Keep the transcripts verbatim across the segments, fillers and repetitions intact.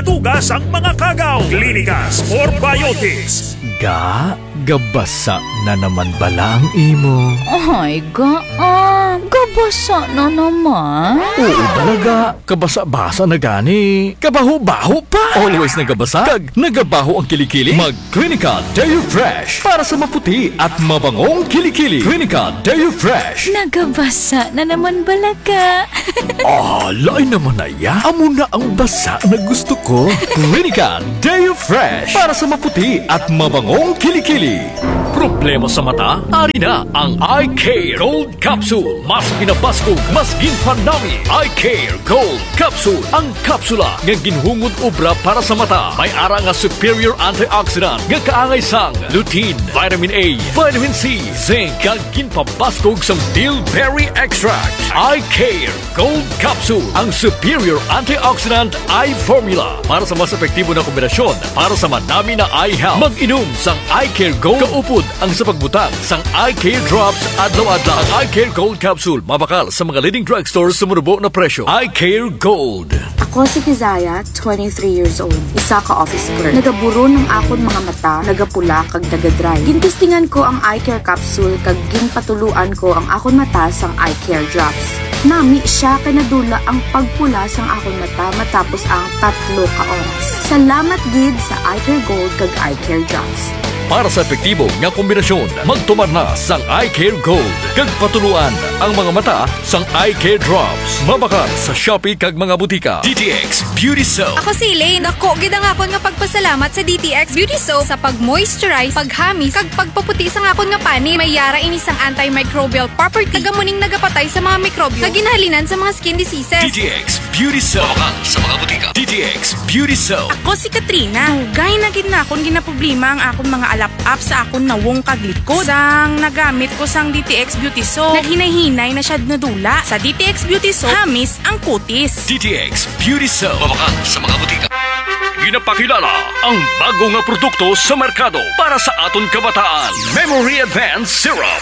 Tuga sang mga kagaw. Clinicas Probiotics. Ga, gabasa na naman bala ang imo? Ay, ga, ah, gabasa na naman. Oo, bala ga. Kabasa-basa na gani. Kabaho-baho pa. Always nagabasa. Kag nagabaho ang kilikili. Mag Clinica Deo Fresh para sa maputi at mabangong kilikili. Clinica Deo Fresh. Nagabasa na naman bala ga. Ah, lain naman na ya. Amo na ang basa na gusto ko. Clinica Deo Fresh para sa maputi at mabangong kilikili. Problema sa mata? Ari na ang Eye Care Gold Capsule. Mas pinabaskog, mas ginpanami. Eye Care Gold Capsule. Ang kapsula nga ginhungod obra para sa mata. May ara nga superior antioxidant nga kaangay sang lutein, vitamin A, vitamin C, zinc, kag ginpabaskog sang bilberry extract. Eye Care Gold Capsule, ang superior antioxidant eye formula para sa mas epektibo na kombinasyon para sa manami na eye health. Mag-inom sang Eye Care Gold kaupod ang sa pagbutang sang Eye Care Drops adlaw-adlaw. Ang Eye Care Gold Capsule mabakal sa mga leading drugstore sa manubo na presyo. Eye Care Gold. Ako si Kizaya, twenty-three years old, isa ka office clerk. Nagaburon ang akon mga mata, nagapula kag nagadry. Gintestingan ko ang Eye Care Capsule kag ginpatuloan ko ang akon mata sang Eye Care Drops. Nami siya kay nadula ang pagpula sang akon mata matapos ang tatlo ka oras. Salamat gid sa Eye Care Gold kag Eye Care Drops. Para sa epektibo nga kombinasyon, magtumar na sang Eye Care Gold kag patuloan ang mga mata sang Eye Care Drops. Mabakal sa Shopee kag mga butika. D T X Beauty Soap. Ako si Elaine. Dako gid ang akon nga pagpasalamat sa D T X Beauty Soap sa pag-moisturize, paghamis, kag pagpaputi sang akon nga panit. May ara ini sang antimicrobial property. Taga muning nagapatay sa mga mikrobyo nga ginahalinan sa mga skin diseases. D T X Beauty Soap. Mabakal sa mga butika. D T X Beauty Soap. Ako si Katrina. Dugay na gid nakon ginaproblema ang akon mga alap-ap sa akon nawong kag likod. Sang nagamit ko sang D T X Beauty Soap, naghinay-hinay na siya nadula. Sa D T X Beauty Soap, hamis ang kutis. D T X Beauty Soap. Mabakal sa mga butika. Ginapakilala ang bago nga produkto sa merkado para sa aton kabataan. Memory Advance Syrup.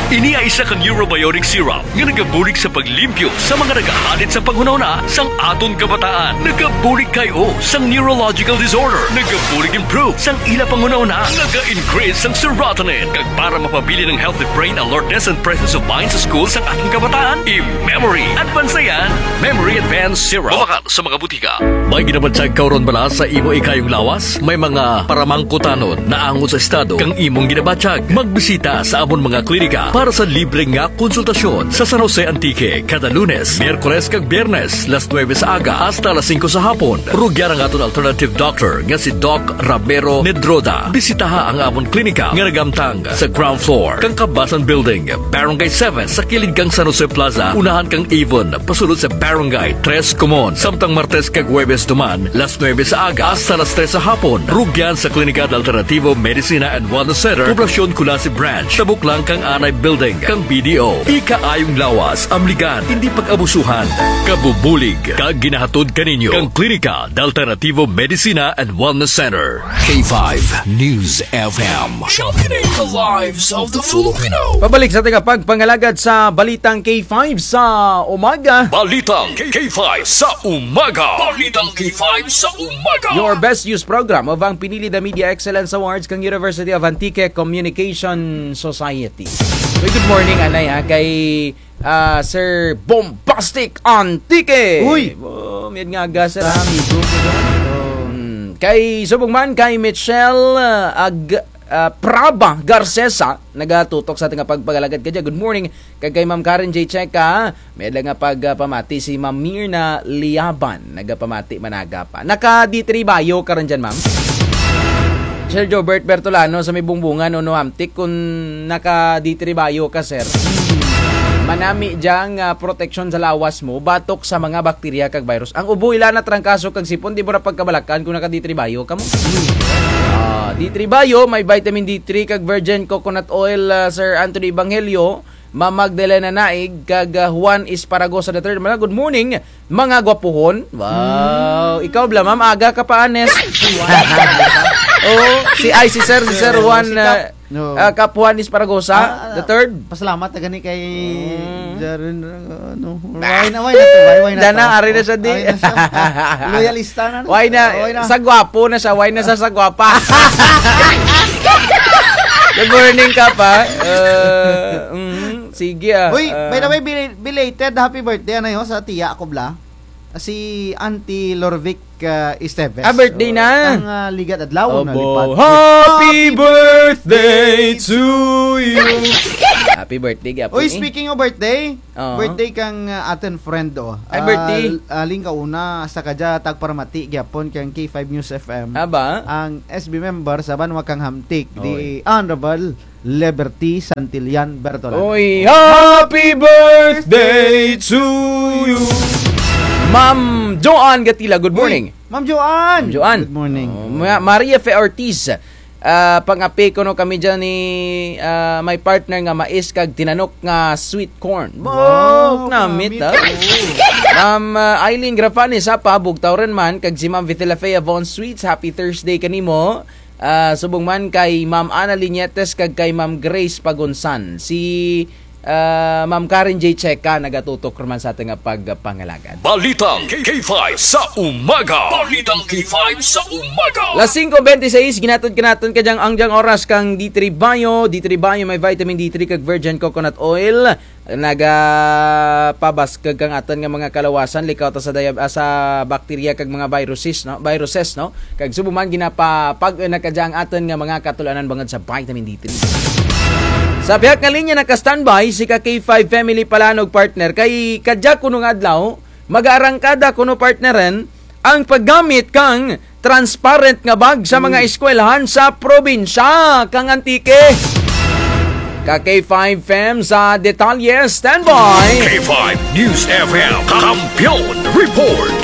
Ini ay isa ka neurobiotic syrup nga nagabulig sa paglimpyo sa mga nagahalit sa panghunahuna sang aton kabataan. Nagabulig kay-o sang neurological disorder. Nagabulig improve sang ila panghunahuna. Naga-increase sang serotonin. Kag para mapabilin ang healthy brain alertness and presence of mind sa school sang aton kabataan, i-Memory Advance na yan. Memory Advance Syrup. Mabakal sa mga butika. May ginabatyag ka run bala sa imo ikayong lawas? May mga paramangkutanon naangot sa estado kang imong ginabatyag? Magbisita sa amon mga klinika para sa libre nga konsultasyon sa San Jose, Antique, kada Lunes, Miyerkules kag Biyernes, las nuebe sa aga hasta las singko sa hapon. Rugyan ang aton alternative doctor nga si Doc Ramiro Nedroda. Bisitaha ang amon klinika nga naghamtang sa ground floor kang Kabasan Building, Barangay seven, sa kilid kang San Jose Plaza, unahan kang Avon, pasulod sa Barangay Tres Comon. Samtang Martes kag Huwebes duman, las nuebe sa aga hasta las tres sa hapon, rugyan sa Klinika de Alternativo Medicina and Wellness Center, Poblacion Culasi Branch, tabok lang kang Anay Building kang B D O. Ikaayong lawas, amligan, indi pag-abusuhan, kabubulig, kag ginahatod kaninyo kang Klinika de Alternativo Medicina and Wellness Center. K five News F M. Championing the lives of the Filipino. Pabalik sa aton nga pagpangalagad sa Balitang K five sa umaga. Balitang K five sa umaga. Balitang K five sa umaga. Your best news program of ang pinili na Media Excellence Awards kang University of Antique Communication Society. Uy, good morning, anay, ha, kay, ah, Sir Bombastic Antique. Uy! Oh, mayad nga aga, sir, ha? Amigo ko, amigo. Hmm, kay subong man kay Michelle, ah, Ag-, ah, Praba Garcesa, nagatutok sa aton nga pagpangalagad kadya. Good morning. Kag kay Ma'am Karen J Checa, mayad lang nga pag, ah, pamati si Ma'am Mirna Liaban, nagapamati man aga pa. Naka D three bio ka run dyan, ma'am? Sir Jobert Bertolano sa may Bungbungan, Nono Hamtic, kun naka D three bio ka, sir. Manami dyang, ah, proteksyon sa lawas mo batok sa mga bakterya kag virus. Ang ubo, ilana, trangkaso kag sipon, di mo ra pagkabalakan kun naka D three bio kamo. Ah, D three bio, may vitamin D three kag virgin coconut oil, ah, Sir Anthony Evangelio, Ma'am Magdalena Naig, kag, ah, Juan Esparagosa the third. Mga good morning, mga gwapuhon. Wow. Hmm. Ikaw bala, ma'am, aga ka pa, anes. Oh, si, ay, si Sir, si Sir Juan, si Kap, ah, No. Ah, Kap Juan Esparagosa, Ah, the third. Pasalamat na gani kay Mm. Jaren, ano, why na, why na to, why, why na Dana, to? Ari na siya, di. Ari na siya. Loyalista na. Why na, Why na? Sa gwapo na siya, why na sa, sa gwapa? Good morning, Kap, ah. Uh, mm, sige, ah. Uy, by the Ah. way, bel-, belated happy birthday, ano yun, sa tiya ako, bla? Si Auntie Lorvic, ah, Esteves. Ah, birthday na. Ang, ah, ligad adlaw na Abo, lipat. Happy birthday to you. Happy birthday, gyapon, Uy, eh. Speaking of birthday, Oo. birthday kang, ah, atun friend, oh. Ay, birthday. Ah, l-, ah, ling kauna, sa kadya, tagparamati, gyapon, kang K five News F M. Aba? Ang S B member sa banwa kang Hamtic, Oy. the Honorable Liberty Santillan Bertolan. Oy, happy birthday to you. Ma'am Joanne Gatila, good Uy, morning. Ma'am Joanne. Ma'am Joanne. Good morning. Oh, Ma-, Maria Fe Ortiz. Ah, pang-api kuno kami dyan ni, ah, my partner nga mais kag tinanok nga sweet corn. Wow, Bok, namit, namit. ah. Oo. Ma'am, ah, Eileen Grafani, sapa, bugtaw run man, kag si Ma'am Vitila Fe Avon Sweets, happy Thursday kanimo. Ah, subong man kay Ma'am Ana Liñetes kag kay Ma'am Grace Pagunsan. Si, ah, Ma'am Karen J Checa nagatutok run man sa atun nga pagpangalagad. Balitang K five sa umaga. Balitang K five sa umaga. Las singko bente sais, ginatud ka natun kadyang andyang oras kang D three Bio. D three Bio may vitamin D three kag virgin coconut oil. Nagapabaskug kang atun nga mga kaluwasan, likaw ta sa diab-, ah, sa bakterya kag mga viruses, no? Viruses, no? Kag subong man ginapapag-un na kadya ang atun nga mga katulad-anan bangud sa vitamin D three. Sa pihak nga linya naka-standby si ka K five Family Palanog, partner. Kay kadya kuno nga adlaw, mag-aarangkada kuno, partner, ang paggamit kang transparent nga bag sa mga Hmm. eskwelahan sa probinsya kang Antique. Ka K five Fam sa detalye, standby. K five News F M, Kampiyon Report.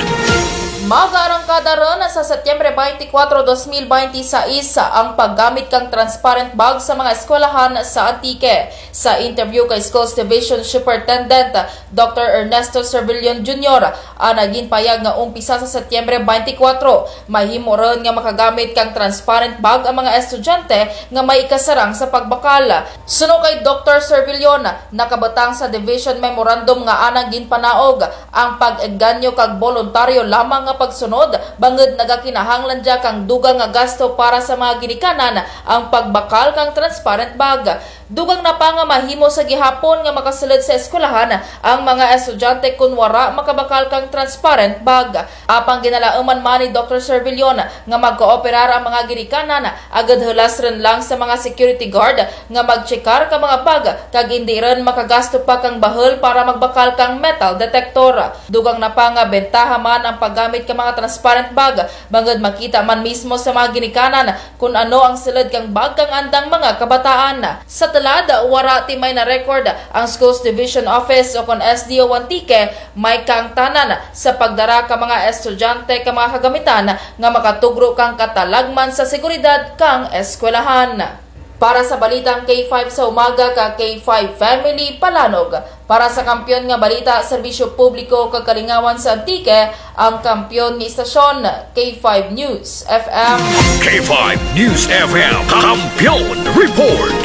Mag-aarangkada run sa Setyembre twenty-four, dos mil twenty-six ang paggamit kang transparent bag sa mga eskwelahan sa Antique. Sa interview kay Schools Division Superintendent Doctor Ernesto Servillon Junior, ana ginpayag nga umpisa sa Setyembre twenty-four, mahimo run nga makagamit kang transparent bag ang mga estudyante nga may ikasarang sa pagbakal. Suno kay Doctor Servillon, nakabutang sa division memorandum nga ana ginpanaog ang pag-engganyo kag boluntaryo lamang nga pagsunod, bangud nagakinahanglan dya kang dugang nga gasto para sa mga ginikanan ang pagbakal kang transparent bag. Dugang na pa nga mahimo sa gihapon nga makasulud sa eskwelahan ang mga estudyante kon wara makabakal kang transparent bag. Apang ginalauman man ni Doctor Servillon nga magkooperar ang mga ginikanan, agud hulas run lang sa mga security guard nga magtsekar ka mga bag, kag indi run makagasto pa kang bahul para magbakal kang metal detector. Dugang na pa nga bentaha man ang paggamit ka mga transparent bag, bangud makita man mismo sa mga ginikanan kon ano ang sulud kang bag kang andang mga kabataan. Sa tulad, wara ti may na-record ang Schools Division Office ukon S D O Antique, may kaangtanan sa pagdara ka mga estudyante ka mga kagamitan nga makatugro kang katalagman sa seguridad kang eskwelahan. Para sa Balitang K five sa Umaga ka K five Family Palanog, para sa Kampiyon nga Balita, Serbisyo Publiko kag Kalingawan sa Antique, ang kampiyon nga istasyon, K five News F M. K five News F M, Kampiyon Report.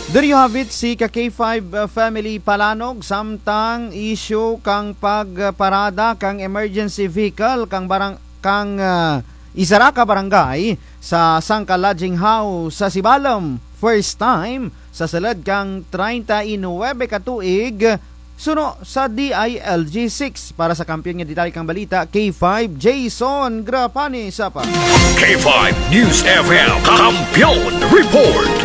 There you have it, si ka K five, uh, Family Palanog, samtang isyu kang pagparada kang emergency vehicle kang barang-, kang, uh, isara ka barangay sa sangka lodging house sa Sibalom. First time sa sulud kang treinta y nuebe ka tuig, suno sa D I L G six. Para sa kampiyon nga detalye kang balita, K five Jason Grapani, sapa. K five News F M, Kampiyon Report.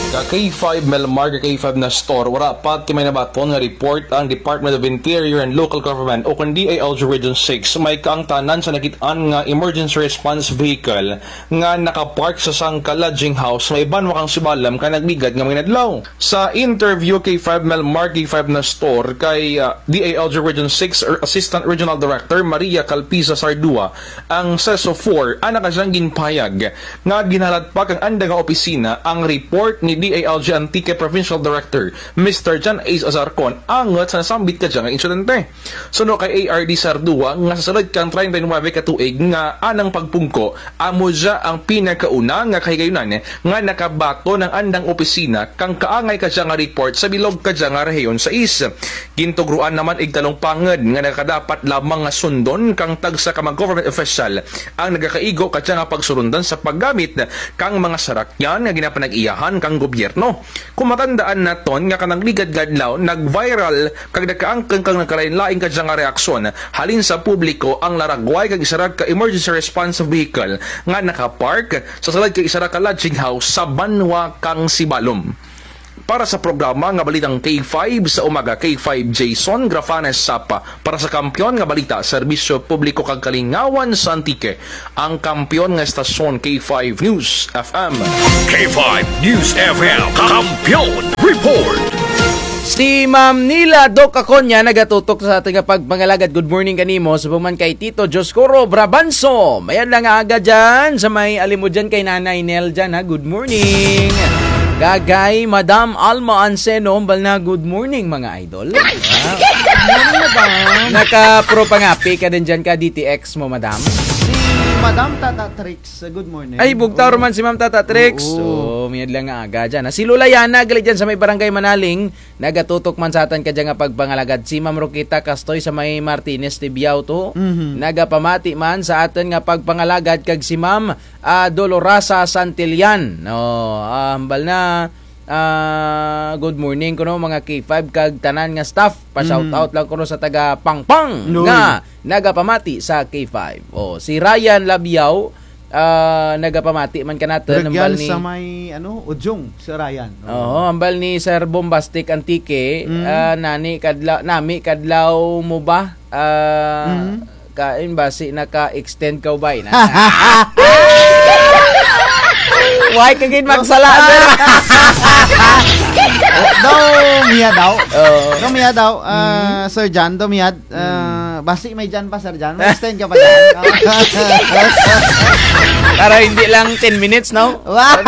Ka K five Melmar, ka K five Nestor, wara pa ti may nabaton nga report ang Department of Interior and Local Government ukon D I L G Region six, may kaangtanan sa nakit-an nga emergency response vehicle nga nakapark sa sangka lodging house may banwa kang Sibalom kang nagligad nga mga inadlaw. Sa interview kay K five Melmar, K five Nestor, kay, ah, D I L G Region six Assistant Regional Director Maria Calpisa Sardua, ang CESO four, ana kadyang ginpahayag nga ginhalat pa kang anda nga opisina ang report ni D A L G Antique Provincial Director, Mister John Ace Azarcon, angut sa nasambit kadya nga insidente. Suno kay A R D Sardua nga sa sulud kang treinta y nuebe ka tuig nga anang pagpungko, amo dya ang pinakauna nga kahigayunan nga nakabaton ang andang opisina kang kaangay kadya nga report sa bilog kadya nga rehiyon sais. Gintugruan na man igtalong pangud nga nakadapat lamang nga sundon kang tagsa ka mga government official ang nagakaigo kadya nga pagsurundan sa paggamit kang mga sarakyan nga ginapanag-iyahan kang gobyerno. Kon matandaan naton nga kanang ligad nga adlaw, nag-viral kag nagkaangkon kang nagkalain-lain kadya nga reaksyon halin sa publiko ang laragway kang isara ka emergency response vehicle nga nakapark sa sulud kang isara ka lodging house sa banwa kang Sibalom. Para sa programa nga Balitang K five sa Umaga, K five Jason Grafanes Sapa. Para sa Kampiyon nga Balita, Serbisyo Publiko kag Kalingawan sa Antique, ang kampiyon nga estasyon, K five News F M. K five News F M, Kampiyon Report. Si Ma'am Nila Doc Aconia nagatutok sa atun nga pagpangalagad. Good morning kanimo. Subong man kay Tito Dioscoro Brabanso. Mayad lang nga aga dyan sa may Alimodian kay Nanay Nel dyan, ha. Good morning. Kag kay Madam Alma Anseno, hambal na, good morning, mga idol. Ah, good morning, madam. Naka-pro pangapi ka din dyan ka D T X mo, madam? Si Madam Tata Trix, good morning. Ay, bugtaw ra man si Ma'am Tata Trix. Oo. Oo, mayad lang nga aga dyan, ha. Si Lola Yana, gali dyan sa may Barangay Manaling, nagatutok man sa atun kadya nga pagpangalagad. Si Ma'am Roquita Castoy sa may Martinez, Tibiao to. Mhm. Nagapamati man sa atun nga pagpangalagad kag si Ma'am, ah, Dolorosa Santillan. No, ah, hambal na, ah, good morning kuno mga K five kag tanan nga staff. Pa-shoutout lang kuno sa taga Pangpang nga nagapamati sa K five. Oh, si Ryan Labiao, ah, nagapamati man kanatun, hambal ni sa may, ano, Ujong, si Ryan. Oo, hambal ni Sir Bombastic Antique, ah, nani kadla-, nami kadlaw mo ba? Ah, kain basi naka-extend ka ba, ina? Why ka gid magsala, sir? Daw, miya daw. Oo. Daw, miya daw. Ah, Sir John, daw, miya. Ah, basi may dyan pa, Sir John. May extend ka pa dyan. Para hindi lang ten minutes, no? Wow.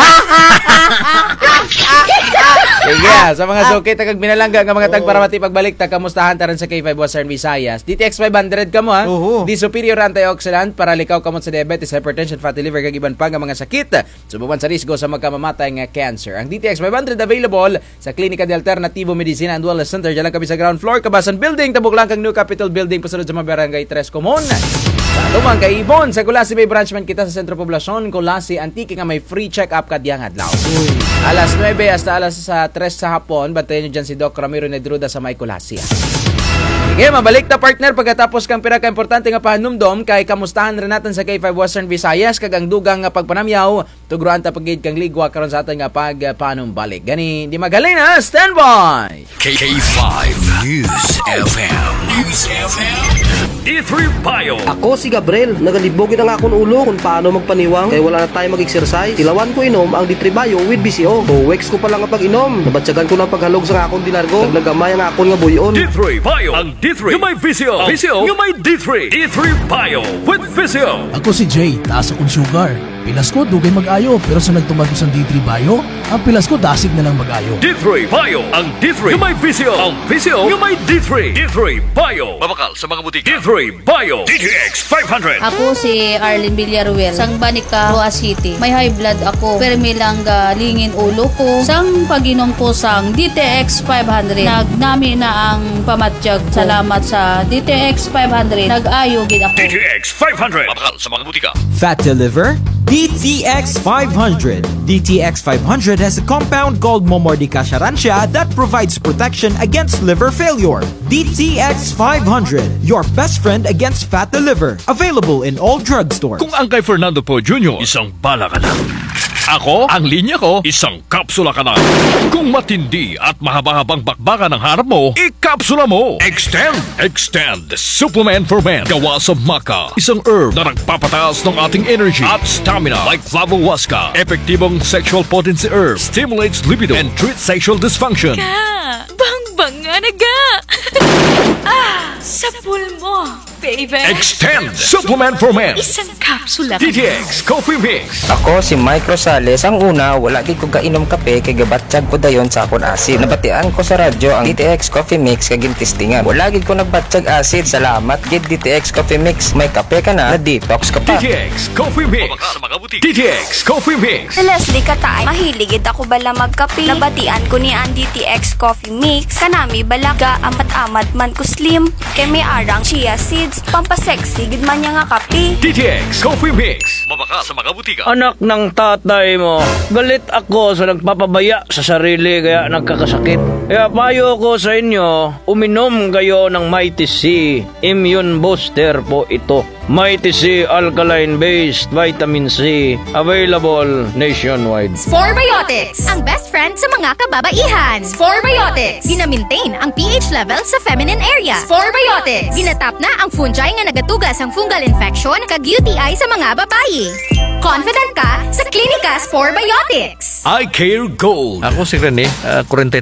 Sige, ah, sa mga suki ta kag pinalangga nga mga tagparamati, pagbalik ta, kamustahan ta run sa K five Western Visayas. D T X five hundred kamo, ha? Oho. Di superior antioxidant para likaw kamo sa diabetes, hypertension, fatty liver, kag iban pa nga mga sakit. Subo man sa risgo sa magkamamatay nga cancer. Ang D T X five hundred available sa Klinika de Alternativo Medicina and Wellness Center, dyan lang kami sa ground floor, Kabasan Building, tabok lang kang New Capitol Building, pasulod sa mga Barangay Tres Comon. Sa Lumang Kaibon, sa Culasi may branch man kita sa Sentro Poblasyon, Culasi, Antique, nga may free check-up kadyang adlaw. Alas nuebe hasta alas, ah, tres sa hapon, bantayan nyo dyan si Doc Ramiro Nedruda sa may Culasi. Sige, mabalik ta, partner, pagkatapos kang pira ka importante nga pahanumdom, kay kamustahan run natun sa K five Western Visayas, kag ang dugang nga pagpanamyaw, tugruan ta pa gid kang ligwa karon sa atun nga pagpanumbalik. Gani, di maghalin, ha? Standby! K five News F M. News F M. D three Bio. Ako si Gabriel. Nagalibog gid ang akon ulo kon paano magpaniwang kay wala na tayo mag-exercise. Tilawan ko inom ang D three Bio with V C O. Two weeks ko pa lang nga pag-inom, nabatyagan ko na ang paghalog sa akon delargo. Kag nagamay ang akon nga buy-on. D three Bio. Ang D three nga may V C O. V C O nga may D three. D three Bio with V C O. Ako si Jay, taas akon sugar. Pilas ko, dugay mag-ayo, pero sa nagtumar ko sang D three Bio, ang pilas ko dasig na lang mag-ayo. D three Bio, ang D three nga may V C O, ang V C O nga may D three. D three Bio. Mabakal sa mga butika. D three Bio. D T X five hundred. Ako si Arlene Villaruel, sang Banica, Roxas City. May high blood ako, permi lang galingin ulo ko. Sang pag-inom ko sang D T X five hundred, nagnami na ang pamatyag ko. Salamat sa D T X five hundred, nag-ayo gid ako. D T X five hundred. Mabakal sa mga butika. Fatty liver? D T X five hundred. D T X five hundred has a compound called Momordica charantia that provides protection against liver failure. D T X five hundred, your best friend against fatty liver. Available in all drugstores. Kung ang kay Fernando Poe Junior, isang bala ka na. Ako, ang linya ko, isang kapsula ka na. Kung matindi at mahaba-habang bakbakan ang harap mo, ikapsula mo. Extend. Extend Supplement for Men. Gawa sa maca, isang herb na nagpapataas ng ating energy at stamina. Like flavohuasca, epektibong sexual potency herb, stimulates libido, and treats sexual dysfunction. Ka, bangbang nga naga. Ah, sa pulmo. Baby. Extend Supplement for Men. Isang kapsula ka D T X Coffee Mix. Ako si Mike Rosales. Ang una, wala gid ko gainom kape kay gabatyag ko dayon sa akon acid. Nabatian ko sa radyo ang D T X Coffee Mix kag gintistingan. Wala gid ko nagbatyag acid. Salamat gid D T X Coffee Mix. May kape ka na, na-detox ka pa. D T X Coffee Mix. Mabakal sa mga butika. D T X Coffee Mix. Si Leslie Kataay, mahilig gid ako bala magkape. Nabatian ko ni ang D T X Coffee Mix. Kanami bala gaamat-amat man ko slim. Kay may ara ang chia seeds, pampasexy gid man niya nga kape. D T X Coffee Mix. Mabakal sa mga butika. Anak ng tatay mo, galit ako sa nagpapabaya sa sarili kaya nagkakasakit. Kaya payo ko sa inyo, uminom kayo ng Mighty C. Immune booster po ito. Mighty C alkaline-based vitamin C, available nationwide. Sporebiotics, ang best friend sa mga kababaihan. Sporebiotics, gina-maintain ang pH level sa feminine area. Sporebiotics, ginatap na ang fungi nga nagatuga sang fungal infection kag U T I sa mga babayi. Confident ka sa Klinika Sporebiotics. Eye Care Gold. Ako si Rene, ah, forty-three